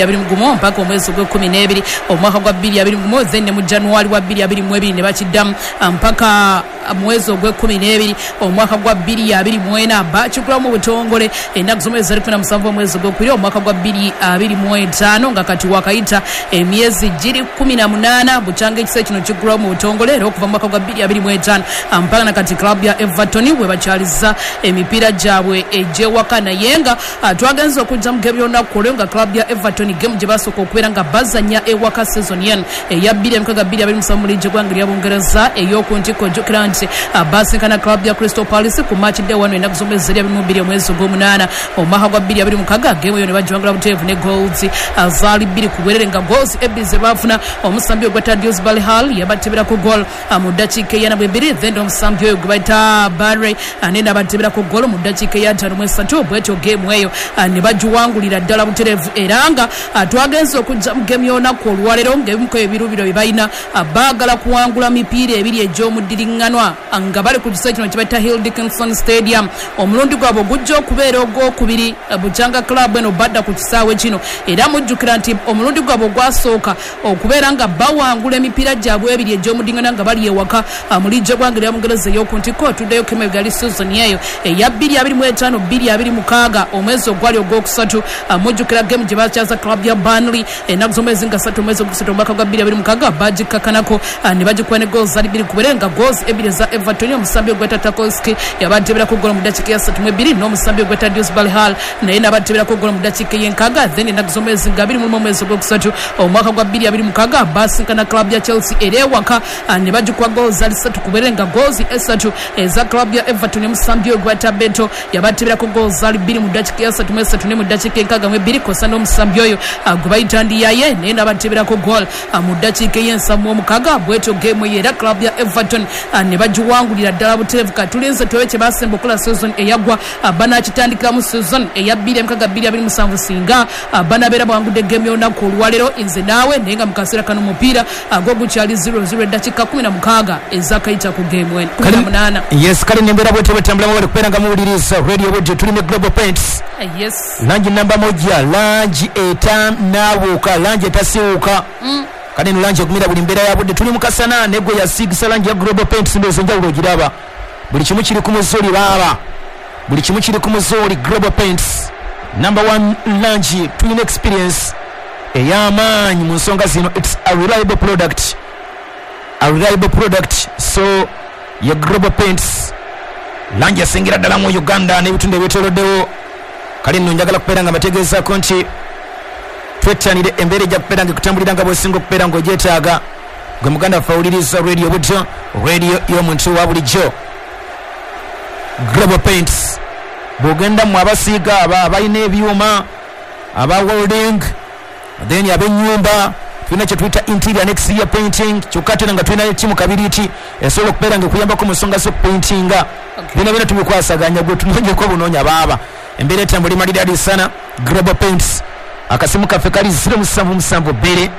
21 mpaka omwezi ogw'ekumi n'ebiri omwaka gwa 2021, then ne mu January wa 2022 ne bakiddamu mpaka mwezi ogw'ekumi n'ebiri omwaka gwa 2024. Bakigulamu mu butongole ennaku z'omwezi zali 17 omwezi ogwokubiri omwaka gwa 2025, nga kati wakayita emyezi giri 18 bukyanga ekisa kino kigulawo mu butongole. Era okuva mu mwaka gwa 2025 mpaka na kati club ya Everton bwe bakyaliza emipiira gyabwe egy'ewaka. Naye nga twagenze okujja mu game y'olunaku olwo nga club ya Everton game gye basooka okubeera nga bazannya ewaka season yen eya 2026 mu liigi eggwanga erya Bungereza ey'oku ntikko. Ojjukira nti basinkana club ya Crystal Palace ku match day 1 ennaku z'omwezi zeri 22 omwezi ogw'omunaana omwaka gwa 2026. Game eyo ne bagiwangula buteevu ne goals zaali 2 ku bwerere, nga goals ebbiri ze baafuna omusambi ogwa Dewsbury Hall yabateberako goal mu ddakiika eyana bwebiri, then omusambi oyo gwe bayita Barry naye n'abateberako goal mu ddakiika eya 53. Bwetyo game eyo ne bagiwangulira ddala butereevu. Era nga twagenze okujja mu game y'olunaku olwaleero ng'ebimu ku ebirubiro bye balina, baagala kuwangula mipiira ebiri egy'omuddiriŋŋanwa nga bali ku kisaawe kino kye bayita Hill Dickinson Stadium. Omulundi gwabwe ogujja okubeera ogwokubiri bukyanga club eno badda ku kisaawe kino. Era mujjukira nti omulundi gwabwe ogwasooka okubeera nga bawangula emipiira gyabwe ebiri egy'omuddiriŋŋanwa nga bali ewaka mu liigi eggwanga erya Bungereza ey'oku ntikko, otuddeyo kemebega yali season eyo eya 2025 2026 omwezi ogwali ogwokusatu. Mujjukira game gye bakyaza club ya Burnley ennaku z'omwezi nga 3 omwezi ogwokusatu omwaka gwa 2026, bagikkakanako ne bagikuba ne goals zali 2 ku bwerere, nga goals ebbiri eza Everton omusambi ogweta Tarkowski yabateberako goal mu ddakiika ya 32, n'omusambi ogweta Dewsbury Hall naye n'abateberako goal mu ddakiika ey'enkaaga. Then ennaku z'omwezi nga 21 omwezi ogwokusatu omwaka gwa 2026 basinkana club ya Chelsea era ewaka ne bagikuba goals zali 3 ku bwerere, nga goals esatu eza club ya Everton omusambi ogweta Beto yabateberako goals zali 2 mu ddakiika ya 33 ne mu ddakiika 62, kosa n'omusambi oyo gwe bayita Ndiaye naye n'abateberako goal mu ddakiika ey'ensamu omukaga. Bwetyo game eyo era club ya Everton ne bagiwangulira ddala butereevu. Katulinze tulabe kye basemba okukola season eyaggwa banakitandikiramu season eya 2026 27 singa banabeera bawangudde game y'olunaku olwaleero nze naawe. Naye nga mu kaseera kano omupiira gwo gukyali 00, eddakiika 16 ezakayita ku game eno, 18. Yes, kale nembeera bwetyo bwetambulamu. Bali kubeera nga muwuliriza Radio Bwetyo, tuli ne Global Paints. Langi namba moja, langi etanaabuuka, langi etasiiwuuka. Kale eno langi egumira buli mbeera ya budde. Tuli mu kasana negwe yasiigisa langi ya Global Paints, ndowooza enjawulo ogiraba. Buli kimu kiri ku muzuuli baaba, buli kimu kiri ku muzuuli. Global Paints number one langi, tulina experience ey'amaanyi mu nsonga zino. It's a reliable product, a reliable product. So ye Global Paints, langi esingira ddala mu Uganda n'ebitundu ebyetoloddewo. Kale nno njagala kubeera nga mbategeezaako nti twettanire embeera ejja kubeera nga ekutambulira nga bw'osinga okubeera ng'ogyetaaga. Gwe muganda waffe awuliriza Radio Butyo, radio y'omuntu wa bulijjo. Global Paints, bw'ogenda mu abasiiga, aba abalina ebyuma, aba welding, then ab'ennyumba, tulina kye tuyita interior and exterior painting. Kyokka ate era nga tulina tiimu kabiriiti esobola okubeera nga ekuyambako mu nsonga z'okupaintinga. Byona byona tubikwasaganya, gwe tunoonyeko obunoonya baaba. Embeera etambula emalidadi sana. Global Paints, akasimu kaffe kali 0772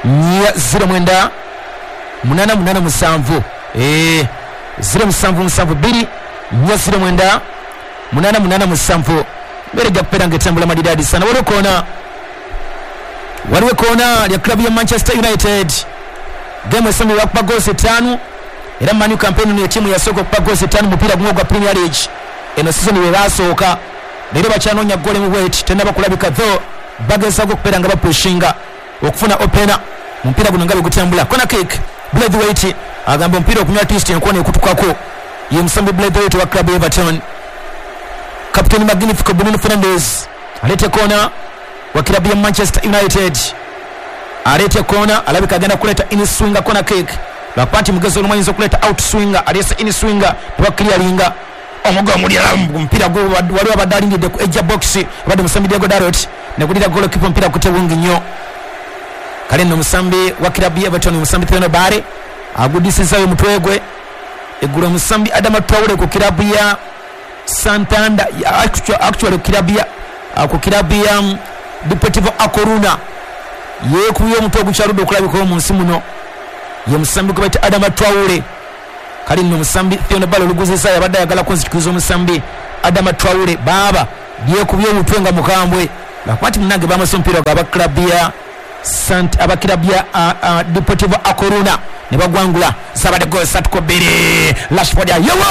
409 887, 0772 409 887. Embeera ejja kubeera nga etambula malidadi sana. Waliwo koona, waliwo koona lya club ya Manchester United. Game esembye bakuba goals 5, era Man U campaign eno etiimu yasooka okuba goals 5 mupiira gumu ogwa Premier League eno season bwe basooka. Leero bakyanoonya goal emu bweti, tenaba kulabika, though bagezaako okubeera nga bapushinga okufuna opener mu mupiira guno nga bwe gutambula. Corner kick, Braithwaite agamba omupiira okunywa at least enkoona ekutukako. Ye musambi Braithwaite wa club Everton. Captain Magnifico Bruno Fernandes aleeta koona wa club ya Manchester United, aleeta koona, alabika agenda kuleeta inswinger corner kick, lwakuba nti mugezi olumu ayinza okuleeta outswinger. Aleese inswinger, tebakiriyalinga omugo omulira omupiira gwo. Waliwo abadde alindidde ku edge box, abadde musambi Diogo Dalot, negulira goalkeeper, omupiira gute bungi nnyo. Kale nno omusambi wa club ya Everton, omusambi Thierno Barry, agudisizaayo omutwe gwe. Eggulo omusambi Adama Traore ku club ya Santander, actually ku club ya Deportivo A Coruna, yeekubye omutwe ogukyaludde okulabikawo mu nsi muno. Ye musambi gwe bayita Adama Traore. Kale nno omusambi Thierno Barry oluguzizaayo, abadde ayagala kunzikiriza omusambi Adama Traore, baaba lyekubye omutwe nga mukambwe. Lwakuba nti munange bamase omupiira gwa aba club ya Sant aba club ya Deportivo A Coruna ne bagwangula zabadde goal satu ku bbiri. Rashford ayewo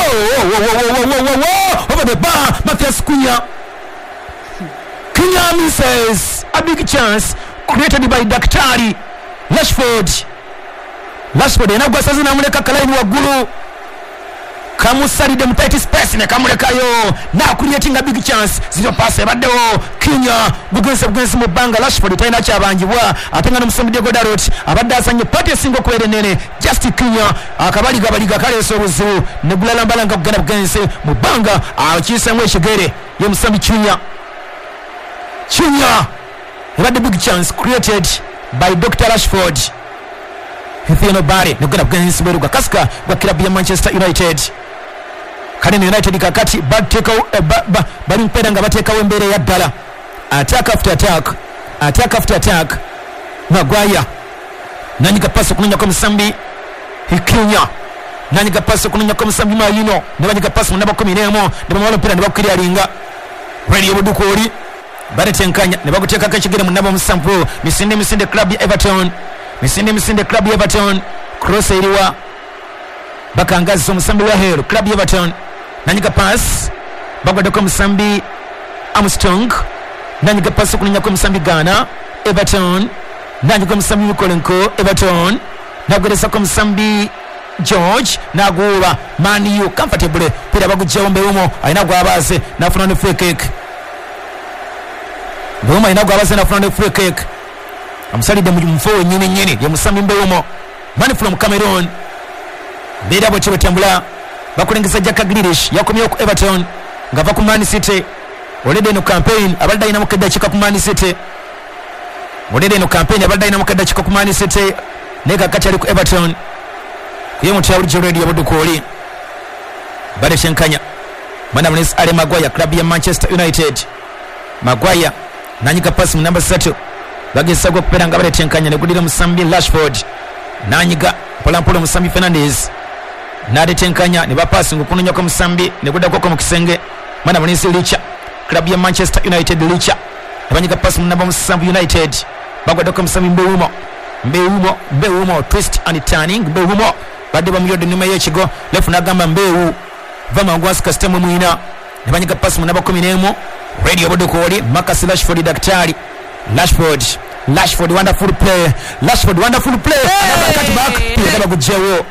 over the bar. Mathias Cunha Cunha misses a big chance created by Daktari Rashford. Rashford alina gwasaze namuleka kalaini waggulu, kamusalidde mu tight space ne kamulekayo nakuliatinga big chance. Zino pass ebaddewo Cunha bugenze bugenzi mu bbanga. Rashford talina kyabanjibwa, ate nga n'omusambi Diego Dalot abadde azanye pati esinga okubeera ennene. Just Cunha akabaligabaliga kaleese obuzibu ne gulalambala nga kugenda bugenzi mu bbanga, akiyiseemu ekigere ye musambi Cunha. Cunha ebadde big chance created by Dr. Rashford. Theono Bare nogenda bugenzi bweru gwa kasika gwa club ya Manchester United. Kale United kakati bateekawo bali mpeera nga bateekawo embeera eya ddala, attack after attack, attack after attack. Maguire nanyiga pasi okunonyako omusambi Cunha, nanyiga pasi okunonyako omusambi Mayino, ne banyiga pasi mu namba 11 ne bamala omupiira ne bakukiryalinga Radio Budukooli baletenkanya ne baguteekako ekigere mu namba 7. Misinde misinde club ya Everton, misinde misinde club ya Everton. Cross eriwa bakangazza omusambi wa Hero club ya Everton, nanyiga pass bagwaddeko omusambi Armstrong, nanyiga pass okunonyako omusambi Ghana Everton, nanyiga omusambi Mikolenko Everton, nagwerezako omusambi George naguuba Man U comfortable pira bagugjawo Mbeumo alina gwabaze nafuna ne free kick. Mbeumo alina gwabaze nafuna ne free kick, amusalidde mu mufo wennyini nnyini ye musambi Mbeumo, man from Cameroon. Mbeera bwetyo bwetambula bakulengeza Jack Grealish yakomyewo ku Everton ng'ava ku Man City. Olede eno campaign abadde alinamu keddakiika ku Man City, olede eno campaign abadde alinamu keddakiika ku Man City naye kakati ali ku Everton. Kuye mutya bulijjo Radio Budukooli baletenkanya mwana mulenzi Ale Maguire club ya Manchester United. Maguire nanyiga pasi mu namba 3 bagezaako okubeera nga baletenkanya ne gudira musambi Rashford, nanyiga mpolampola omusambi Fernandes naletenkanya ne bapasi ng'okunonyako omusambi ne guddako mu kisenge mwana mulenzi Licha club ya Manchester United. Licha ne banyiga pasi mu namba 7 United bagwaddeko omusambi Mbeumo, Mbeumo, Mbeumo twist and turning. Mbeumo badde bamuyodde ennyuma y'ekigo lefu n'agamba Mbeu va mangu wansi kasita mwe mwina ne banyiga pasi mu namba 11 Radio Budukooli Marcus Rashford Daktari Rashford, Rashford wonderful play, Rashford wonderful play. Another cut back pira bagugyewo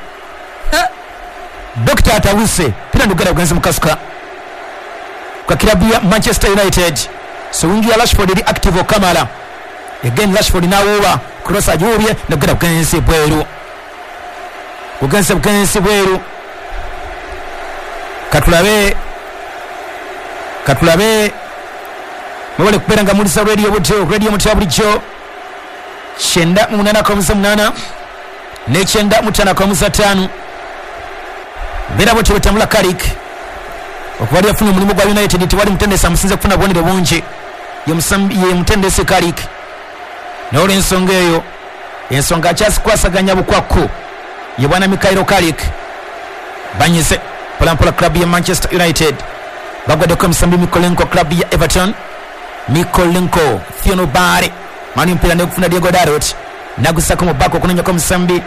Dr. Atawuse pira ndugera kugenza mukasuka kwa klabu ya Manchester United. So wingi ya Rashford eri active okamala again Rashford nawuba cross ajuubye nogera kugenza bweru, kugenza bugenzi bweru. Katulabe katulabe mwebale kubeera nga mulisa Radio Buto Radio Mutya bulijjo 98.8 ne 95.5. Mbeera bwetyo bwetambula Carrick okuba ali yafuna omulimu gwa United tewali mutendesi amusinze kufuna bubonero bungi ye mutendesi Carrick. Naye olw'ensonga eyo ensonga akyasikwasaganya bukwakku ye bwana Michael Carrick. Banyize mpolampola club ya Manchester United bagwaddeko omusambi Mikolenko club ya Everton. Mikolenko Theono Bare mani mpira nekufuna Diego Dalot nagusako mu bako okunonyako omusambi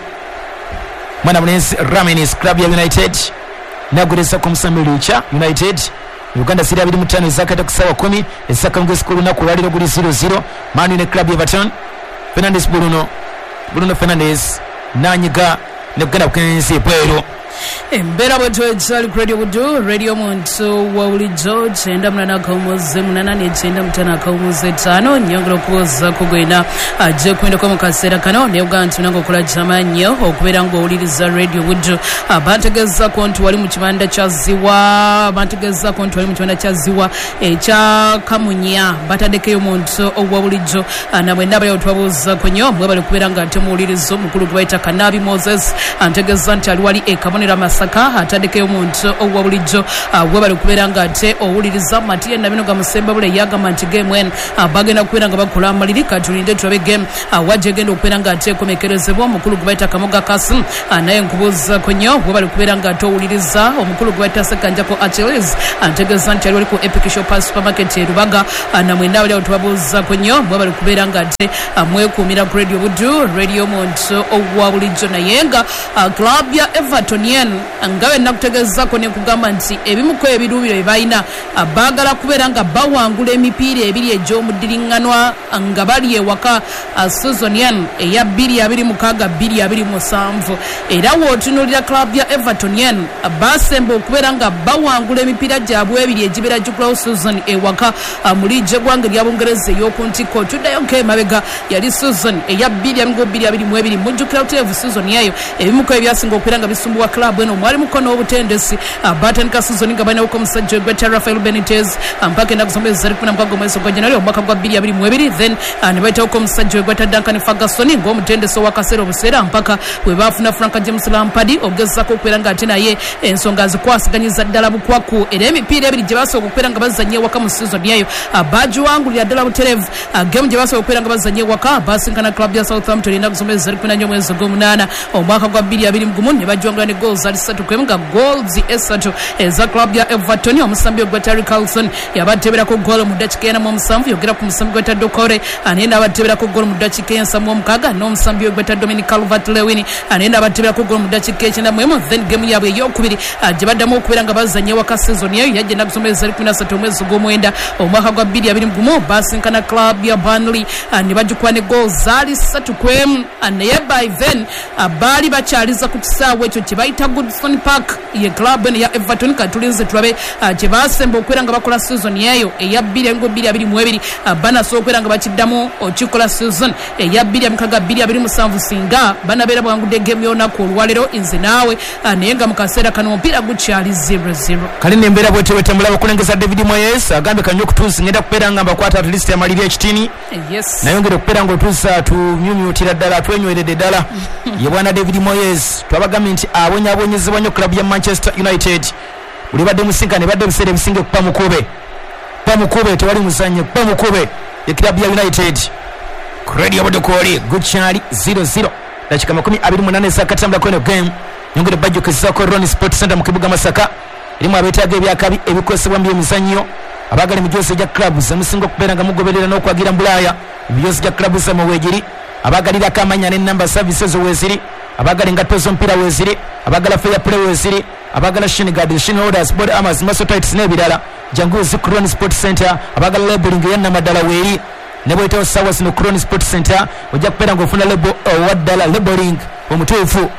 mwana mulenzi Ramenis club ya United nagulezako omusambi Licha United. Uganda ziri 25 ezakata ku ssaawa 10 ezakangezi ku lunaku olwaleero guli 0-0. Manu ne club ya Everton Fernandes Bruno, Bruno Fernandes nanyiga nekugenda bukenzi bweru. Embeera bwetyo ekyali ku Radio Budu Radio Muntu wa bulijjo 98.8 ne 95.5. Nyongera okubuuzaako gwena ajja okuyindako mu kaseera kano naye ogaa nti nange okola kyamaanyi okubeera ng'owuliriza Radio Budu. Bantegeezaako nti wali mu kibanda kya Ziwa, bantegeezaako nti wali mu kibanda kya Ziwa ekya Kamunya bataddekeyo omuntu owa bulijjo namwenna abali twabuuzaako nnyo mwebale kubeera nga ate muwuliriza omukulu gwe bayita Kanabi Moses antegeeza nti ali wali e Kabonero. General Masaka ataddekeyo omuntu owa bulijjo webale okubeera nga ate owuliriza. Matiya Nabinoga Musembabule yagamba nti game eno bagenda kubeera nga bakola amaliri, katulinde tulabe game wajja egenda okubeera nga ate ekomekerezebwa. Omukulu gwe bayita Kamoga Kasim naye nkubuuzaako nnyo, webale kubeera nga ate owuliriza. Omukulu gwe bayita Sekanjako Achilles antegeeza nti ali wali ku Epic Shop Supermarket e Rubaga, namwena abali awo tubabuuzaako nnyo, mwebale kubeera nga ate mwekuumira ku Radio Buddu, radio omuntu owa bulijjo. Naye nga club ya Everton eno nga bwe nakutegeezaako ne nkugamba nti ebimu ku ebiruubiro bye balina, baagala kubeera nga bawangula emipiira ebiri egy'omudiriŋŋanwa nga bali ewaka season eno eya 2026-2027. Era w'otunuulira club ya Everton eno basemba okubeera nga bawangula emipiira gyabwe ebiri egibeera gikulawo season ewaka mu liigi eggwanga erya Bungereza ey'oku ntikko. Tuddayo nk'emabega yali season eya 2022. Mujjukira butereevu season eyo ebimu ku ebyasinga okubeera nga bisumbuwa club eno mwalimuko n'obutendesi. Batandika season nga balinawoko omusajja gweta Rafael Benitez mpaka ennaku z'omwezi zali 16 omwezi ogwa January omwaka gwa 2022, then ne bayitawoko omusajja gweta Duncan Ferguson ng'omutendesi ow'akaseera obuseera mpaka we baafuna Frank James Lampard ogezaako okubeera nga ate naye ensonga zikwasiganyiza ddala bukwaku. Era emipiira ebiri gye basooka okubeera nga bazannya ewaka mu season eyo bagiwangulira ddala butereevu. Game gye basooka okubeera nga bazannya ewaka basinkana club ya Southampton ennaku z'omwezi zali 14 omwezi ogw'omunaana omwaka gwa 2021 ne bagiwangula ne goals ali 3-1, nga goals esatu eza club ya Everton. Omusambi ogwa Terry Carlson yabateeberako goal mu ddakiika 47, yogera ku musambi gweta Dokore naye n'abateeberako goal mu ddakiika 76, n'omusambi ogweta Dominic Calvert-Lewin naye n'abateeberako goal mu ddakiika 91. Then game yaabwe eyokubiri gye baddamu okubeera nga bazannya ewaka season eyo yajja ennaku z'omwezi zali 13 omwezi ogw'omwenda omwaka gwa 2021, basinkana club ya Burnley ne bagikuba ne goal zaali 3-1. Naye by then baali bakyaliza ku kisaawe ekyo kye bayita Goodison Park ye club eno ya Everton. Katulinze tulabe kye basemba okubeera nga bakola season eyo eya 2022, banasobola okubeera nga bakiddamu okikola season eya 2026 singa banabeera bawangudde game y'olunaku olwaleero nze naawe. Naye nga mu kaseera kano omupiira gukyali 0-0. Kale nembeera bwetyo bwetambula. Bakulengeza David Moyes agambye kanywa okutuusi ngenda kubeera nga mbakwata at least amaliri ekitini. Nayongera okubeera nga otuusa tumyumyutira ddala twenyweredde ddala. Ye bwana David Moyes twabagambye nti abonyaabonyezebwa nnyo club ya Manchester United. Buli badde musinkana ebadde ebiseera ebisinga ekupa mukube, kupa mukube, tewali muzannyo, kupa mukube ye club ya United. Ku Radio Budukooli gukyali 0-0, dakika 28 ezakatambulako eno game. Nyongere bajjukizaako Ron Sport Center mu kibuga Masaka erimu abeetaaga ebyakabi ebikozesebwa mu byemizannyo, abaagala emijoozi egya clubs emusinga okubeera nga mugoberera n'okwagira mu Bulaaya, emijoozi gya clubs zammwe weegiri, abaagalirako amannya n'ennamba service ezo weeziri, abaagala engatto z'omupiira weeziri, abaagala fair play weeziri, abaagala shin guards, shin holders, body armors, muscle tights n'ebirala, jangu zi ku Ron Sport Center. Abaagala labeling eya nnamaddala weeri, ne bw'oyitawo ssaawa zino ku Ron Sport Center ojja kubeera ng'ofuna label owa ddala, labeling omutuufu.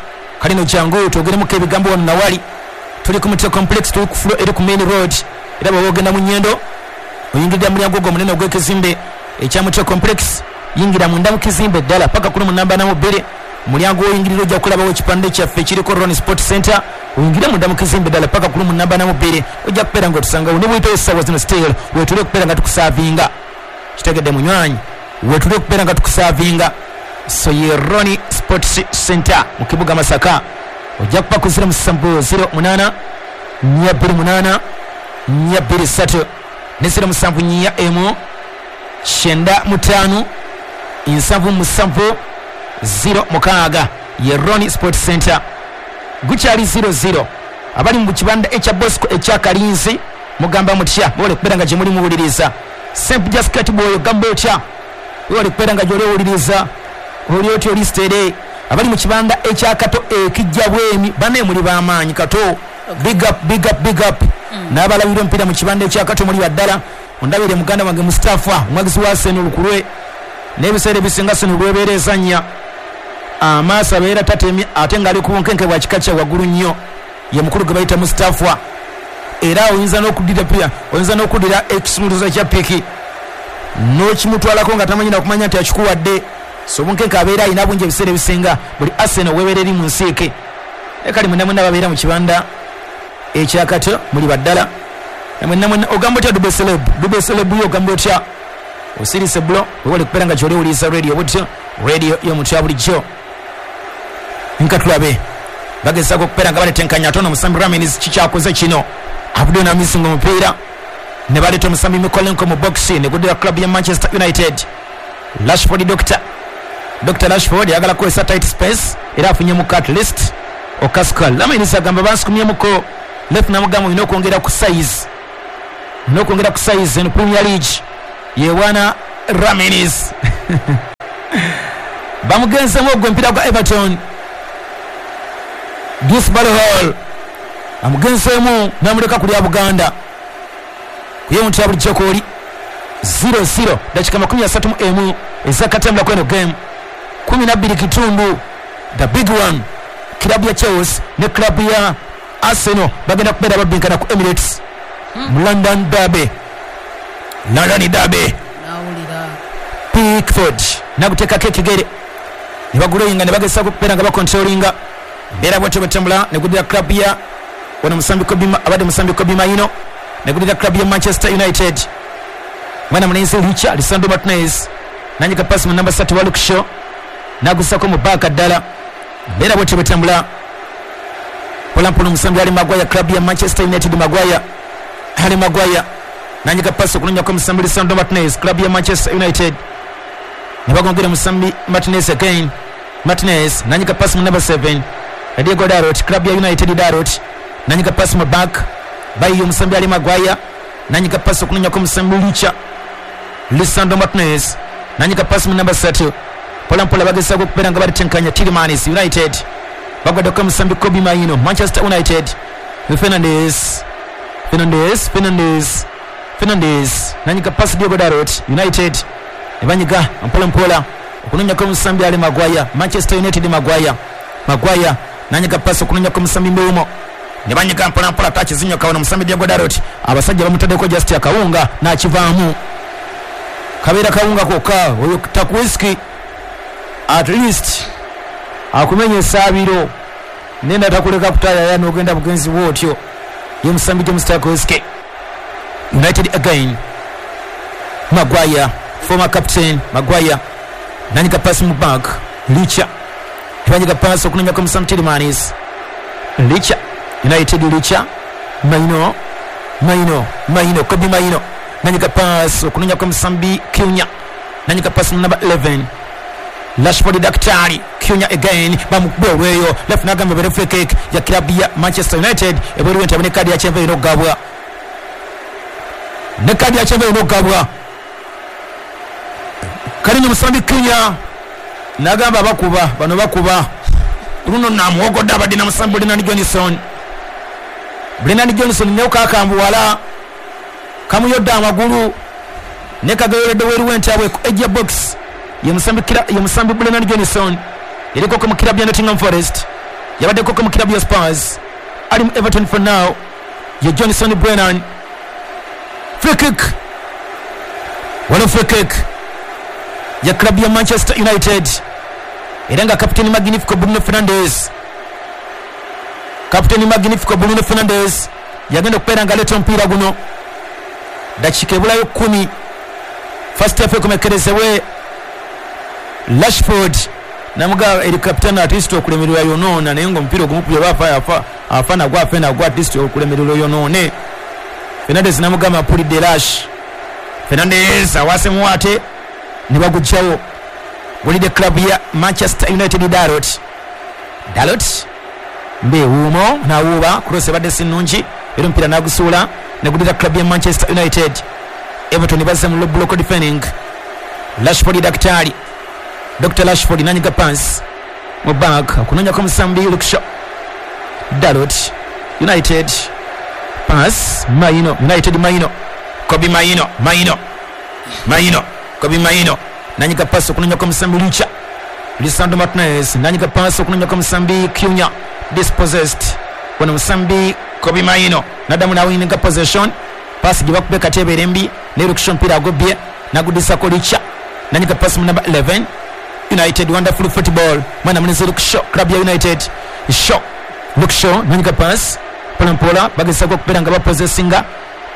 Kale no jangu twogeremuko ebigambo wano nawali. Tuli ku Mutwe Complex, tuli ku floor eri ku main road, era bw'oba ogenda mu Nyendo oyingirira mu mulyango ogwo omunene ogw'ekizimbe ekya Mutwe Complex, yingira munda mu kizimbe ddala paka ku lumu namba 42, mulyango w'oyingirira ojja kulabawo ekipande kyaffe ekiriko Ron Sport Center. Oyingire munda mu kizimbe ddala paka ku lumu namba 42, ojja kubeera ng'otusangawo. Ne bw'oyitawo essaawa zino still weetuli okubeera nga tukusaavinga. Kitegedde munywanyi, weetuli okubeera nga tukusaavinga. So ye Ron Sports Center mu kibuga Masaka. Ojja kuba ku 07 08 428 423 ne 071 95 77 06 ye Ron Sports Center. Gukyali 00. Abali mu kibanda ekya Bosco ekya Kalinzi mugamba mutya? Mwebale kubeera nga gye muli muwuliriza. Sempija Skateboy ogamba otya? Webale kubeera nga gy'oli owuliriza, oli otya, oli steady? Abali mu kibanda ekya Kato ekijja Bwemi, bannaye muli b'amaanyi. Kato, big up, big up, big up. N'abalabira omupiira mu kibanda ekya Kato muli baddala. Ondabire muganda wange Mustafa, omwagizi wa Arsenal lukulwe, n'ebiseera ebisinga Arsenal lwebeera ezannya amaaso abeera tatemye ate ng'ali ku bunkenke bwa kika kya waggulu nnyo. Ye mukulu gwe bayita Mustafa, era oyinza n'okuddira pia oyinza n'okuddira ekisumuluzo kya piki n'okimutwalako nga tamanyi nakumanya nti akikuwadde. So obunkenke abeera alina bungi ebiseera ebisinga buli Arsenal webeera eri mu nsiike. Naye kale mwenna mwenna babeera mu kibanda ekya Kato muli baddala mwenna mwenna. Ogamba otya Dube Celeb? Dube Celeb yo ogamba otya? Osirise bulo, wewale kubeera nga gyoli owuliriza radio butyo, radio y'omuntu ya bulijjo. Nka tulabe Bagezaako okubeera nga baletenkanya ate ono omusambi Ramins kikyakoze kino avuddeyo n'amisinga omupiira ne baleeta omusambi Mikolenko mu box ne guddira club ya Manchester United. Rashford Doctor Dr Rashford ayagala kukozesa tight space era afunyemuko at least okasuka. Lamins agamba bansukumyemuko left namugamba olina okwongera ku size, olina okwongera ku size eno Premier League yewana Ramins. Bamugenzemu ogwo omupiira gwa Everton. Dewsbury Hall amugenzeemu n'amuleka kulya Buganda kuye muntu ya bulijjo kwoli 0-0 dakika 31 ezakatambula kweno game 12 kitundu. The big one, club ya Chelsea ne club ya Arsenal bagenda kubeera babinkana ku Emirates mu London Derby. London Derby. Nawulira Pickford naguteekako ekigere ne baguloyinga ne bagezaako okubeera nga bakontrolinga mbeera bwetyo bwetambula ne guddira club ya wano musambi Kobbie, abadde musambi Kobbie Mainoo ne guddira club ya Manchester United. Mwana mulenzi Richa Lisandro Martinez nanyika pasi mu namba 3 wa Luke Shaw nagusako mu baaka ddala mbeera bwetyo bwetambula mpolampola. Omusambi ali Maguire, club ya Manchester United. Maguire, Ali Maguire nanyika pasi okunonyako omusambi Lisandro Martinez, club ya Manchester United. Ne bagongera musambi Martinez again. Martinez nanyika pasi mu number 7 Diego Dalot, club ya United. Dalot nanyika pasi mu back bayiyo omusambi Ali Maguire nanyika pasi okunonyako omusambi Licha Lisandro Martinez nanyika pasi mu number 3. Mpolampola bagezaako okubeera nga balitenkanya. Tielemans, United bagwaddeko omusambi Kobbie Mainoo, Manchester United. Fernandes, Fernandes, Fernandes, Fernandes nanyika pasi Diego Dalot, United ne banyiga mpolampola okunonyako omusambi Ali Maguire, Manchester United. Maguire, Maguire nanyika pasi okunonyako omusambi Mbeumo ne banyiga mpolampola takizinyoka. Wano omusambi Diego Dalot abasajja bamutaddeko just akawunga n'akivaamu, kabeera kawunga kokka oyo takuwiski at least akumenya esaabiro nenda takuleka kutayaya n'ogenda bugenzi bwotyo. Ye musambi James Tarkowski. United again, Maguire, former captain Maguire nanyika pasi mu back Licha banyiga pasi okunonyako musambi Tielemans. Licha, United, Licha, Mainoo, Mainoo, Mainoo, Kobbie Mainoo nanyika pasi okunonyako musambi Cunha nanyika pasi mu number 11 Rashford Daktari. Cunha again, bamukuba olweyo left nagamba bere free kick ya club ya Manchester United ebweru enti abone kadi ya kyenvu erina okugabwa ne kadi ya kyenvu erina okugabwa. Kalini musambi Cunha nagamba bakuba bano bakuba luno namuwogodde abadde na musambi Brennan Johnson. Brennan Johnson ne kakambuwala kamuyodde amagulu ne kagayoledde weru entabwe ku edge box. Ye musambi Brennan Johnson yaliko mu club ya Nottingham Forest, yabaddeko mu club ya Spurs, ali mu Everton for now. Ye Johnson Brennan. Free kick, wano free kick ya club ya Manchester United era nga kapiteni Magnifico Bruno Fernandes, kapiteni Magnifico Bruno Fernandes yagenda okubeera nga aleeta omupiira guno. Dakika ebulayo 10 first half ekomekerezebwe. Rashford namugaba eri kapitani at least okulemererwa yonoona naye nga omupiira ogumukubye bafa afa afa nagwa afe nagwa at least okulemererwa yonoone. Fernandes namugamba mpulidde Rash. Fernandes awasemu ate ne bagujjawo gulidde club ya Manchester United. Dalot, Dalot mbewuumo nawuuba cross ebadde si nnungi era omupiira nagusuula negudira club ya Manchester United. Everton bazze mu low block defending. Rashford Daktari, Dr Rashford nanyiga pass mu back okunonyako musambi Luke Shaw. Dalot, United, pass Mainoo, United, Mainoo, Kobbie Mainoo, Mainoo, Mainoo, Kobbie Mainoo nanyika pass okunonyako musambi Licha Lisandro Martinez nanyika pass okunonyako musambi Cunha dispossessed. Wano musambi Kobbie Mainoo nadamu nawininga possession pass gye bakube katebeere mbi ne Luke Shaw mpira agobye nagudisako Licha nanyika pass mu number 11 United. Wonderful football mwana mulenzi Luke Shaw, club ya United. Shaw, Luke Shaw nanyika pass mpolampola bagezaako okubeera nga bapossessinga.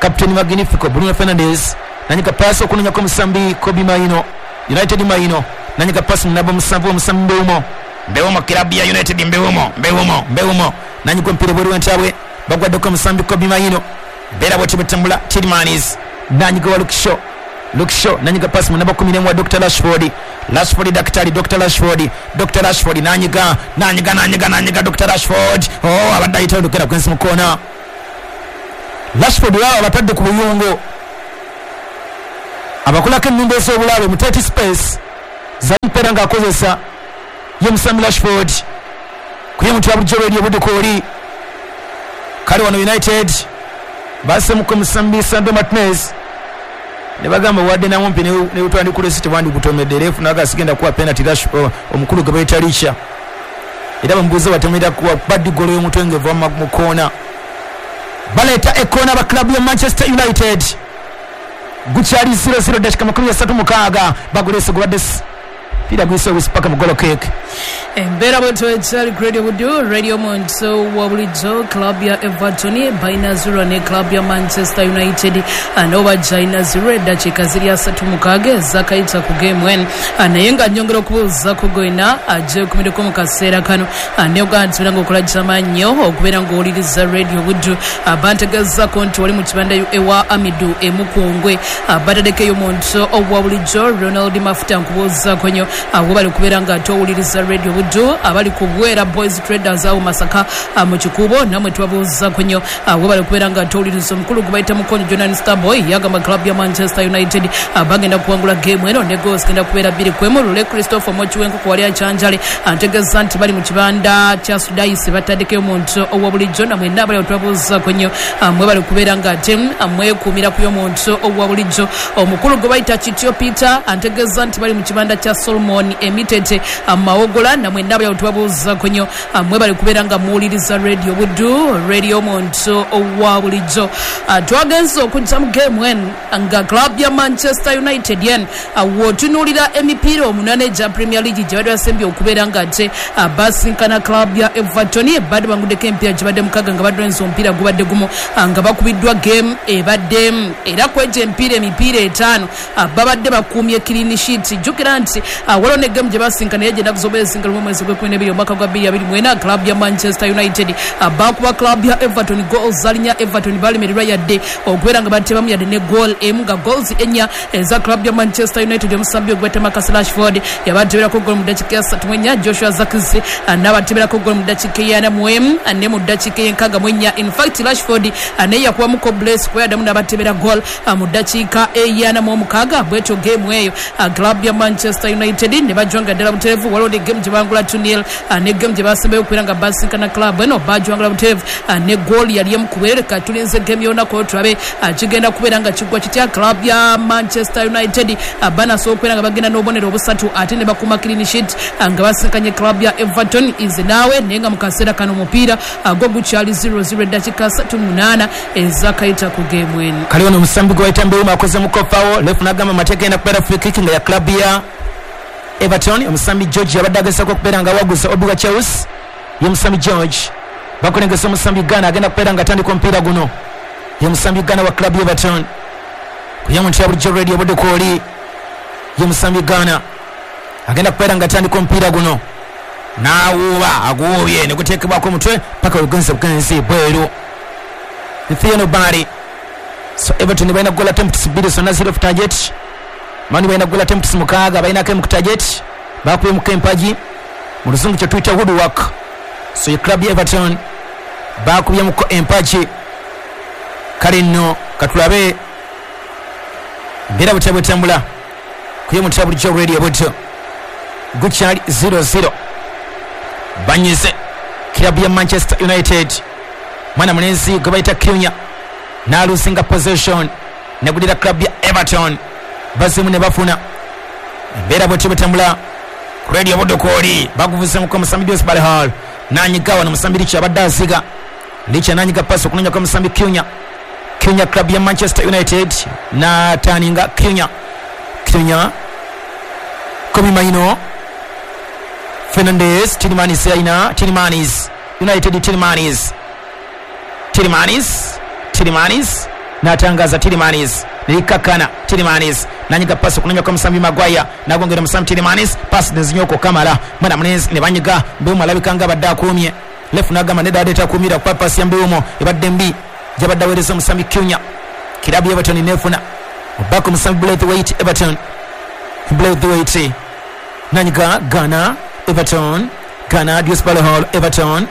Captain Magnifico Bruno Fernandes nanyika pass okunonyako musambi Kobbie Mainoo, United. Mainoo nanyika pass mu namba 7 omusambi Mbeumo. Mbeumo kilabu ya United, Mbeumo, Mbeumo, Mbeumo nanyiga omupiira ebweru w'entabwe, bagwaddeko omusambi Kobbie Mainoo. Mbeera bwetyo bwetambula. Tielemans nanyiga wa Luke Shaw, Luke Shaw nanyiga pasi mu namba 11 wa Dr Rashford, Rashford daktari, Dr Rashford, Dr Rashford nanyiga, nanyiga, nanyiga, nanyiga Dr Rashford. Oh, abadde ayitawo ndukera kwensi mu koona. Rashford wao abatadde ku buyungo, abakolako ennumba ez'obulabe mu tight space zamupeera ng'akozesa ye musambi Rashford kuye muntu ya bulijjo lweri obudukooli. Kale wano United basemuko musambi Sandro Martinez ne bagamba wadde namumpi ne utwandikula esi tewandikutomedde refu naga sigenda kuwa penalty Rashford omukulu gwe bayita Richa, era bamubuuza batomera kuwa baddi golo y'omutwe ng'eva mu koona. Baleeta ekoona ba club ya Manchester United, gukyali 0-0 dakika 36, bagulese gubadde pira gwise obwisi paka mu golo kick. Embeera bwetyo ekyali Radio Buddu, Radio Muntu wa bulijjo. Club ya Everton balina 0 ne club ya Manchester United nabo bajja 0, eddakiika ziri 36 ezakayita ku game eno. Naye nga nyongera okubuuzaako gwena agyekumireko mu kaseera kano, neogaa nti nga okola kyamannyo okubeera ng'owuliriza Radio Buddu. Bantegezaako nti wali mu kibanda ewa Amidu Emukungwe, bataddeko muntu owa bulijjo Ronald Mafuta, nkubuuzaako nnyo webali kubeera nga towuliriza Radio Buddu. Abali ku Bwera Boys Traders awo Masaka mu Kikuubo, namwe tubabuuzaako nnyo webali kubeera nga towuliriza. Omukulu gwe bayita Mukonyo Jonan Starboy yagamba club ya Manchester United bagenda kuwangula game eno ne goals genda kubeera 2-1. Lule Christopher Mochiwenkoko wali achanjale antegeeza nti bali mu kibanda kya Sudaisi, bataddeko omuntu owa bulijjo. Namwe abali tubabuuzaako nnyo mwebali kubeera nga ate mwekuumira ku y'omuntu owa bulijjo. Omukulu gwe bayita Kityo Peter antegeeza nti bali mu kibanda kya Solomon Emitete Mawogola, namwe abali tubabuuzaako nnyo mwebali kubeera nga muwuliriza Radio Buddu, Radio omuntu owa bulijjo. Twagenze okujja mu game eno nga club ya Manchester United yen w'otunuulira emipiira 8 egya Premier League gye badde basembye okubeera nga ate basinkana club ya Everton, badde banguddeko emipiira gye badde 6 nga badde omupiira gubadde gumu nga bakubiddwa game ebadde, era kwegyo emipiira 5 babadde bakuumye clean sheet. Jjukira nti waliwo ne game gye basinkana yegye ennaku z'omwezi nga 1 mwezi gw'ekkumi omwaka gwa 2024, club ya Manchester United bakuba club ya Everton goals zalinya. Everton balemererwa yadde okubeera nga batebamu yadde ne goal emu, nga goals 4 eza club ya Manchester United omusambi ogweta Marcus Rashford yabateberako goal mu ddakiika ya 34, Joshua Zirkzee n'abateberako goal mu ddakiika ya 41 ne mu ddakiika ya 64. In fact Rashford naye yakubamuko bless kuba yaddamu n'abatebera goal mu ddakiika eya 46. Bwetyo game eyo club ya Manchester United ne bajwanga ddala butereevu. Waliwo ne game gye bangula 2-0 ne game gye basembayo okubeera nga basinkana club eno bajwangula butereevu ne goal yali emu kubeereka. Tulinze game y'olunaku tulabe kigenda kubeera nga kiggwa kitya. Club ya Manchester United banasobola okubeera nga bagenda n'obubonero 3 ate ne bakuuma clean sheet nga basinkanye club ya Everton is naawe. Naye nga mu kaseera kano omupiira gwo gukyali 0-0 eddakiika 38 ezakayita ku game eno. Kale wano omusambi gwe bayita Mbeumo akoze mukofawo refu n'agamba amateeka genda kubeera free kick nga ya club ya Everton. Omusambi George yabadde agezaako okubeera nga awaguza Obi Chelsea, ye musambi George bakulengesa omusambi Ghana agenda kubeera nga atandika omupiira guno, ye musambi Ghana wa club ya Everton kuye muntu ya bulijjo Radio Budukooli, ye musambi Ghana agenda kubeera nga atandika omupiira guno n'awuuba aguwuubye ne guteekebwako omutwe paka olugenzi bugenzi bweru Theo Bari. So Everton balina goal attempts 2 zonna 0 off target, mani balina goal attempts 6 balinako emu ku target, bakuyemuko empagi mu luzungu kye tuyita woodwork. So ye club ya Everton bakubyemuko empagi. Kale nno katulabe mbeera butya bwetambula kuye mutya bulijjo Radio Buddu, gukyali 0-0 banyize club ya Manchester United. Mwana mulenzi gwe bayita Cunha n'alusinga possession negulira club ya Everton, bazimu ne bafuna. Embeera bwetyo bwetambula ku Radio Budukooli, baguvuzemuko omusambi Dewsbury Hall nanyiga wano omusambi Licha abadde aziga, Licha nanyiga pasi okunonyako omusambi Cunha, Cunha club ya Manchester United n'ataninga Cunha, Cunha Kobbie Mainoo, Fernandes, Tielemans alina Tielemans, United Tielemans, Tielemans, Tielemans n'atangaza Tielemans, Nelikakana Tielemans nanyiga pasi okunoonya kwa musambi Maguire, nagongera musambi Tielemans, pasi nezinyooka okamala mwana mulenzi ne banyiga Mbeumo alabika nga abadde akuumye. Lefu n'agamba nedda adde takuumira kuba pasi ya Mbeumo ebadde mbi gyabadde aweereza omusambi Cunha. Kirabu ya Everton neefuna obaka omusambi Braithwaite. Everton Braithwaite nanyiga Ghana Everton Ghana Dewsbury Hall Everton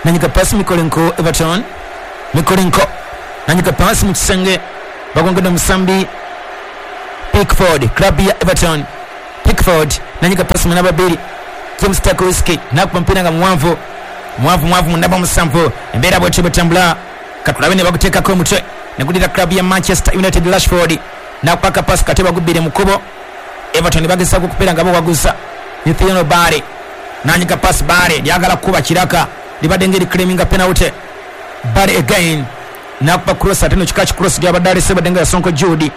nanyiga pasi Mikolenko Everton Mikolenko nanyiga pasi mu kisenge bagongedde omusambi Pickford club ya Everton. Pickford nanyiga pasi mu namba 2 James Tarkowski nakuba mpira nga muwanvu muwanvu muwanvu mu namba 7. Embeera bwetyo bwetambula, katulabe ne baguteekako omutwe negulira club ya Manchester United. Rashford nakupaka pasi kate bagubbire mu kkubo. Everton bagezaako okubeera nga bawaguza Nathaniel Bare nanyiga pasi Bare lyagala kukuba kiraka libadde ngeri claiminga penalty. Bare again nakuba cross ate no kika ki cross gyabadde alese badde nga Sonko Jude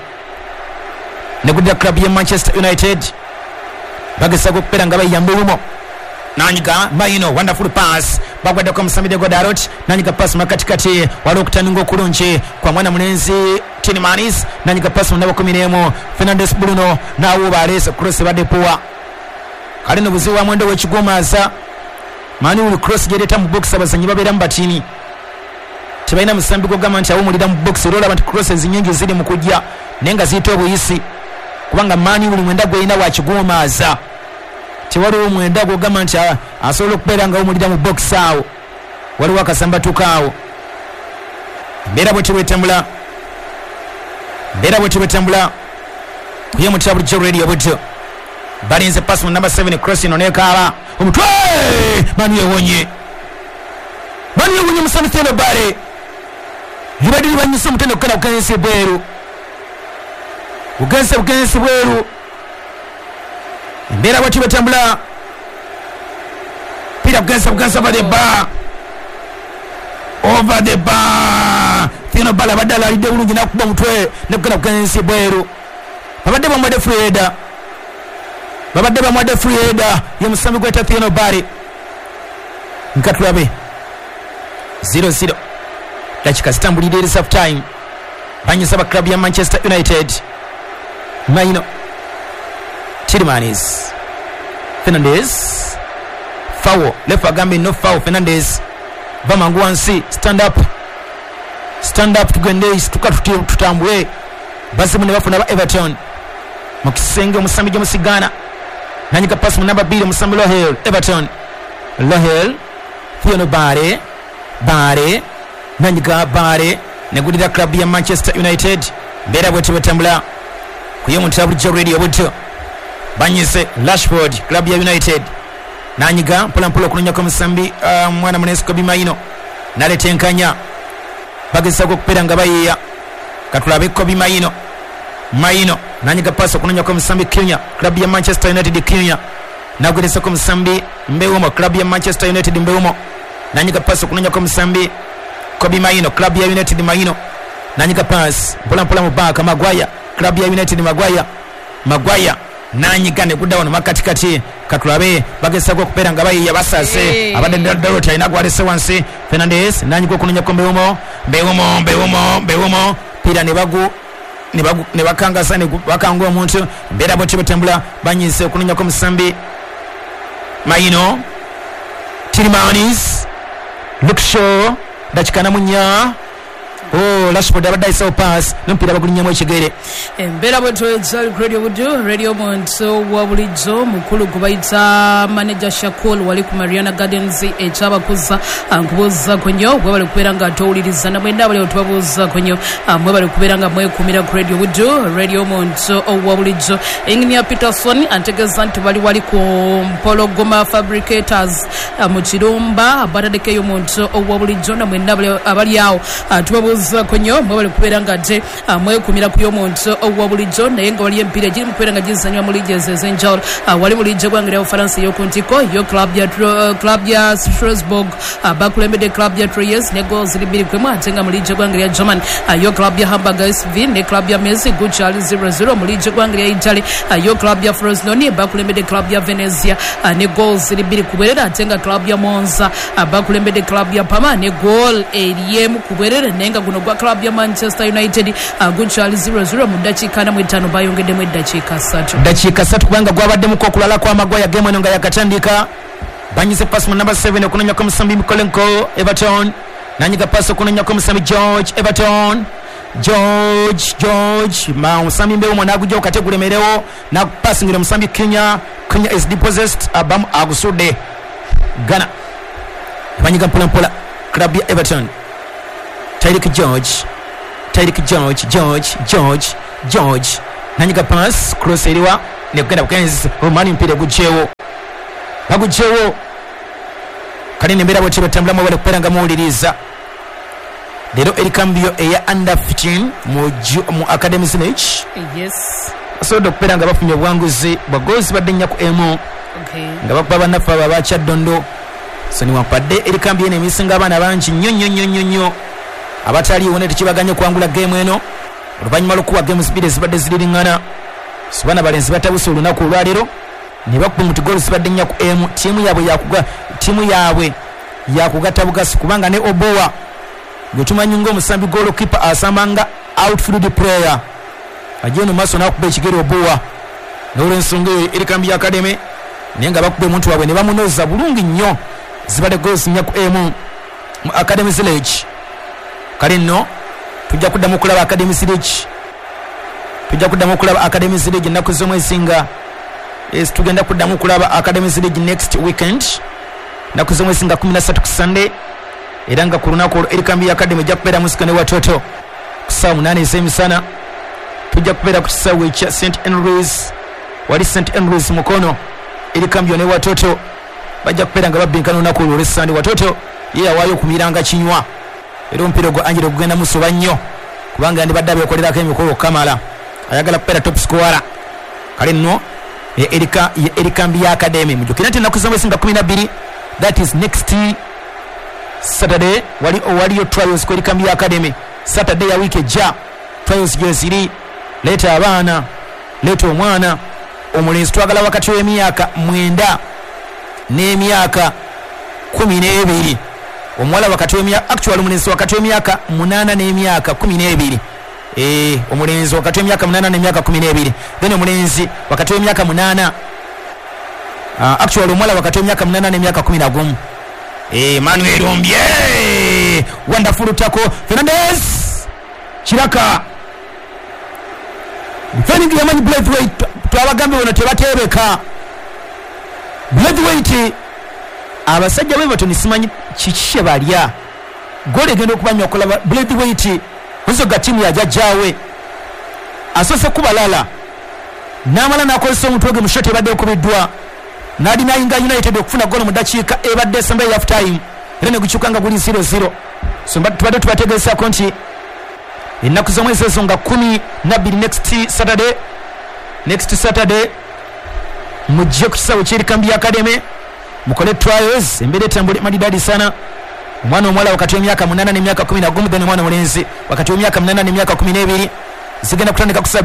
negulira club ya Manchester United bagezaako okubeera nga bayiyamba olumo nanyiga Maino wonderful pass bagwaddeko omusambi Diego Dalot nanyiga pass makatikati waliwo okutaninga okulungi kwa mwana mulenzi Tielemans nanyiga pass mu namba 11 Fernandes Bruno naawuuba aleese cross ebadde poor. Kale no buzibu wa mwendo w'ekigomaaza mani uli cross gy'ereeta mu box abazannyi babeeramu batini tebalina musambi gw'ogamba nti awumulira mu box, era olaba nti crosses nnyingi ziri mu kujja naye nga ziyita obuyisi kubanga mani buli mwenda gw'erina wakigomaaza tewaliwo mwenda gw'ogamba nti asobola okubeera nga awumulira mu box awo waliwo akasambatuka awo. Embeera bwetyo bwetambula, embeera bwetyo bwetambula kuye mutya bulijjo radio butyo balinze pasi mu namba 7 cross ino nekaaba omutwe mani ewonye mani ewonye musambi Theo Bare libadde libanyisa omutende okukenda kugensi bweru bugensi bugensi bweru. Embeera bwetyo bwetambula pira bugensi bugensi over the bar over the bar. Theo Bare abadde alalidde bulungi nakuba omutwe nekukenda kugensi bweru. Babadde bamuwadde free header, babadde bamuwadde free header ye musambi gweta Theo Bare. Nkatulabe 0-0 dakika zitambulidde eri half time banyisa ba club ya Manchester United. Maino Tielemans Fernandes foul left agambe no foul. Fernandes va mangu wansi stand up stand up tugende situka tutambule bazimu ne bafuna ba Everton mu kisenge omusambi gyomusigana nanyiga pasi mu namba 2 omusambi Lohel Everton Lohel Theo Bare Bare nanyiga Bare negulira club ya Manchester United. Mbeera bwetyo bwetambula kuye mutya bulijjo radio butyo banyise Rashford club ya United nanyiga mpola mpola okunonyako omusambi mwana mulenzi Kobbie Mainoo naleeta enkanya bagezaako okubeera nga bayiiya. Katulabe Kobbie Mainoo Mainoo nanyiga pasi okunonyako omusambi Cunha club ya Manchester United. Cunha nagwerezako omusambi Mbeumo club ya Manchester United. Mbeumo nanyiga pasi okunonyako omusambi Kobbie Mainoo club ya United. Mainoo nanyiga pasi mpola mpola mubaka Maguire club ya United. Maguire Maguire nanyiga negudda wano makatikati. Katulabe bagezaako okubeera nga bayiiya basase abadde Dalot alina gwalese wansi. Fernandes nanyiga okunonyako Mbeumo Mbeumo Mbeumo Mbeumo pira ne bagu ne bakangasa ne bakanga omuntu. Mbeera bwetyo bwetambula banyise okunonyako omusambi Maino Tielemans Luke Shaw dakika 44. Oh, Rashford abadde ayisawo pass n'omupiira bagulinnyamu ekigere. Embeera bwetyo radio budu radio muntu wa bulijjo mukulu gwe bayita manager Shakul wali ku Mariana Gardens ekyabakuza nkubuuzaako nnyo mwebale kubeera nga towuliriza namwenda abali tubabuuzaako nnyo mwebale kubeera nga mwekumira ku radio budu radio muntu wa bulijjo. Engineer Peterson antegeeza nti bali wali ku Mpologoma Fabricators mu Kirumba bataddeko omuntu wa bulijjo namwenda abali awo tubabuuza konyo mwebale kubeera nga ate mwekumira ku y'omuntu owa bulijjo naye nga waliyo emipiira egiri mu kubeera nga gizannyibwa mu liigi ezo ez'enjawulo. Wali mu liigi eggwanga lya Bufalansa ey'oku ntikko yo club ya Strasbourg bakulembedde club ya Troyes ne goals ziri 2-1 ate nga mu liigi eggwanga lya German yo club ya Hamburg SV ne club ya Mainz gukyali 0-0. Mu liigi eggwanga lya Italy yo club ya Frosinone bakulembedde club ya Venezia ne goals ziri 2-2 ate nga club ya Monza bakulembedde club ya Parma ne goal eri 1-2 naye nga guno gwa club ya Manchester United gukyali 0-0 mu ddakiika 45 bayongeddemu eddakiika 3. Dakiika 3 kubanga gwabaddemuko okulala kw'amagwaya gemu eno nga yakatandika. Banyize pasi mu namba 7 okunonyako omusambi Mikolenko Everton, nanyiga pasi okunonyako omusambi George Everton, George ma omusambi Mbeumo n'agujja kate gulemerewo nakupasingira omusambi Kenya. Kenya is depossessed, abamu agusudde Ghana. Banyiga mpola mpola club ya Everton. Tyreek George George nanyiga pass cross eriwa nekugenda bukenzi Romani mpira gujewo bagujewo kale nembeera bwetyo batambulamu bali kubeera nga muwuliriza. Leero erikambyo eya under 15 mu Academy Village. Yes, basobodde okubeera nga bafunye obuwanguzi bwa goals badde 4 ku 1 nga bakuba bannaffe abo abakyaddondo. So newankubadde erikambyo eno emisinga abaana bangi nnyo nnyo nnyo nnyo nnyo abataliiwo ne tekibaganye okuwangula geemu eno oluvannyuma lw'okuwa geemu 2 ezibadde ziririŋŋana. So baana balenzi batabuse olunaku olwaleero ne bakuba muti goals zibadde 4 ku 1. Ttiimu yaabwe yakugatta bugasi kubanga ne Obowa gwe tumanyi ng'omusambi goalkeeper asamba nga outfield player ajja eno maaso n'akuba ekigere Obowa n'olwensonga eyo erikambi ya Academy naye nga bakuba omuntu waabwe ne bamunoza bulungi nnyo. Zibadde goals 4 ku 1 mu Academy Village. Kale nno tujja kuddamu okulaba Academy Village, tujja kuddamu okulaba Academy Village ennaku z'omwezi nga tugenda kuddamu okulaba Academy Village next weekend ennaku z'omwezi nga 13 ku Sunday, era nga ku lunaku olwo erikambi ya Academy ejja kubeera musika ne Watoto ku ssaawa 8 ez'emisana. Tujja kubeera ku kisaawe ekya St Andrews, wali St Andrews Mukono. Erikambi ne Watoto bajja kubeera nga babbinkana olunaku olwo olw'Essande. Watoto ye yawaayo okumiranga kinywa era omupiira ogwo Angelo gugenda musoba nnyo kubanga yandibadde abeekolerako emikolo okukamala, ayagala kubeera top scorer. Kale nno erikambi ya Academy mujjukira nti ennaku z'omwezi nga 12, that is next Saturday, waliyo trials ku erikambi ya Academy. Saturday ya wiiki ejja trials gyeziri. Leeta abaana, leeta omwana omulenzi, twagala wakati w'emyaka 9 n'emyaka 12, omuwala wakati w'emyaka actually omulenzi wakati w'emyaka 8 n'emyaka 12, omulenzi wakati w'emyaka 8 n'emyaka 12, then omulenzi wakati w'emyaka 8, actually omuwala wakati w'emyaka 8 n'emyaka 11. Manuel Ombye wonderful tackle, Fernandez Kiraka defending yamanyi Braithwaite. Twabagambye bono tebateebeka Braithwaite. Abasajja b'Everton simanyi kiki kye balya, goolo egenda okubanya okulaba Braithwaite musoga ttiimu ya jjajjaawe asoose kubalala n'amala n'akozesa omutwe gwe mu shot ebadde ekubiddwa n'adinayinga United okufuna goolo mu ddakiika ebadde esembayo half time era ne gukyuka nga guli 0-0. So tubadde tubategeezaako nti ennaku z'omwezi ezo nga 12 next Saturday mujje ku kisaawe ky'erikambi ya Academy mukole trials, embeera etambule madidadi sana. Omwana omuwala wakati w'emyaka 8 n'emyaka 11, then omwana omulenzi wakati w'emyaka 8 n'emyaka 12 zigenda kutandika ku